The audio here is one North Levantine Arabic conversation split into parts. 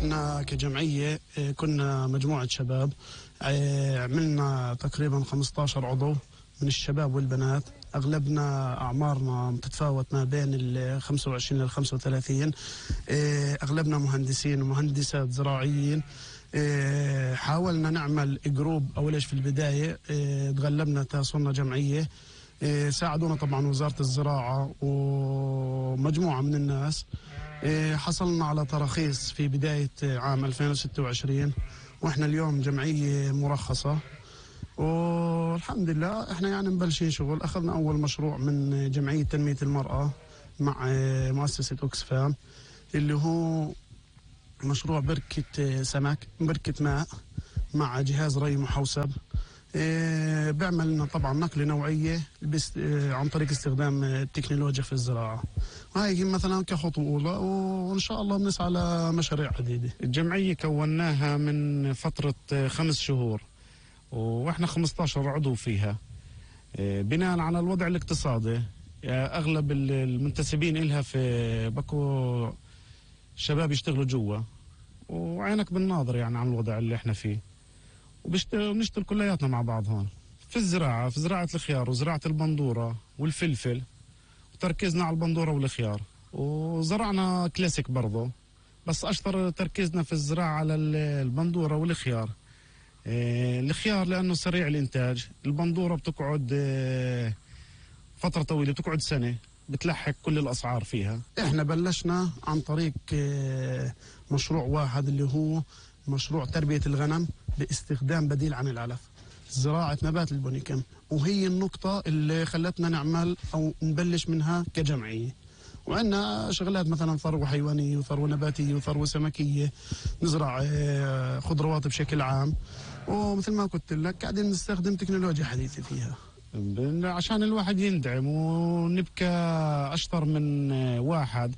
احنا كجمعية كنا مجموعة شباب، عملنا تقريبا 15 عضو من الشباب والبنات. أغلبنا أعمارنا تتفاوت ما بين ال 25 لل 35. أغلبنا مهندسين ومهندسات زراعيين. حاولنا نعمل جروب أولش في البداية، تغلبنا تاسونا جمعية. ساعدونا طبعا وزارة الزراعة ومجموعة من الناس. حصلنا على تراخيص في بداية عام 2026، وإحنا اليوم جمعية مرخصة والحمد لله. إحنا يعني مبلشين شغل. أخذنا أول مشروع من جمعية تنمية المرأة مع مؤسسة أوكسفام، اللي هو مشروع بركة سمك، بركة ماء مع جهاز ري محوسب. بيعمل لنا طبعا نقل نوعية عن طريق استخدام التكنولوجيا في الزراعة. وهي مثلا كخطوة أولى، وإن شاء الله بنسعى على مشاريع عديدة. الجمعية كوناها من فترة 5 شهور، وإحنا 15 عضو فيها. بناء على الوضع الاقتصادي، أغلب المنتسبين إلها في بكو شباب يشتغلوا جوا، وعينك بالناظر يعني عن الوضع اللي إحنا فيه. ونشتغل كلياتنا مع بعض هون في الزراعة، في زراعة الخيار وزراعة البندورة والفلفل، وتركيزنا على البندورة والخيار. وزرعنا كلاسيك برضو، بس أشطر تركيزنا في الزراعة على البندورة والخيار. الخيار لأنه سريع الإنتاج، البندورة بتقعد فترة طويلة، بتقعد سنة، بتلحق كل الأسعار فيها. إحنا بلشنا عن طريق مشروع واحد، اللي هو مشروع تربية الغنم باستخدام بديل عن العلف، زراعة نبات البونيكم. وهي النقطة اللي خلتنا نعمل أو نبلش منها كجمعية. وعندنا شغلات مثلا ثروة حيوانية وثروة نباتية وثروة سمكية، نزرع خضروات بشكل عام. ومثل ما قلت لك قاعدين نستخدم تكنولوجيا حديثة فيها عشان الواحد يندعم ونبقى أشطر من واحد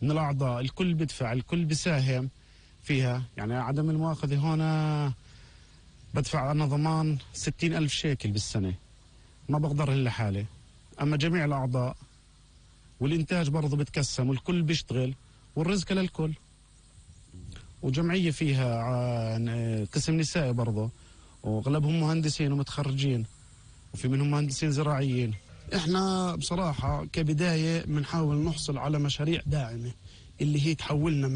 من الأعضاء. الكل بدفع، الكل بيساهم فيها. يعني عدم المؤاخذة هنا بدفع أنا ضمان 60,000 شيكل بالسنة، ما بقدر إلا حالي. أما جميع الأعضاء والإنتاج برضو بتقسم، والكل بيشتغل والرزق للكل. وجمعية فيها قسم نسائي برضو، وأغلبهم مهندسين ومتخرجين، وفي منهم مهندسين زراعيين. إحنا بصراحة كبداية بنحاول نحصل على مشاريع داعمة، اللي هي تحولنا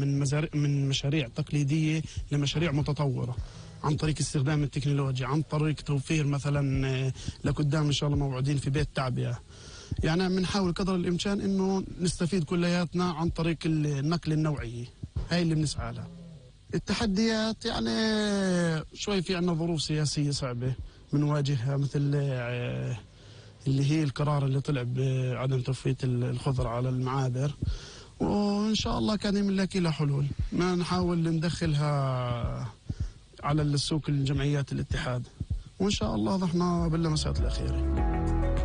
من مشاريع تقليدية لمشاريع متطورة، عن طريق استخدام التكنولوجيا، عن طريق توفير مثلا لقدام إن شاء الله موعودين في بيت تعبئة. يعني بنحاول قدر الإمكان إنه نستفيد كلياتنا عن طريق النقل النوعي. هاي اللي بنسعى لها. التحديات يعني شوي في عنا ظروف سياسية صعبة بنواجهها، مثل اللي هي القرار اللي طلع بعدم تفويت الخضر على المعابر. وإن شاء الله كان نلاقي لها حلول، ما نحاول ندخلها على السوق الجمعيات الاتحاد، وإن شاء الله نحن باللمسات الأخيرة.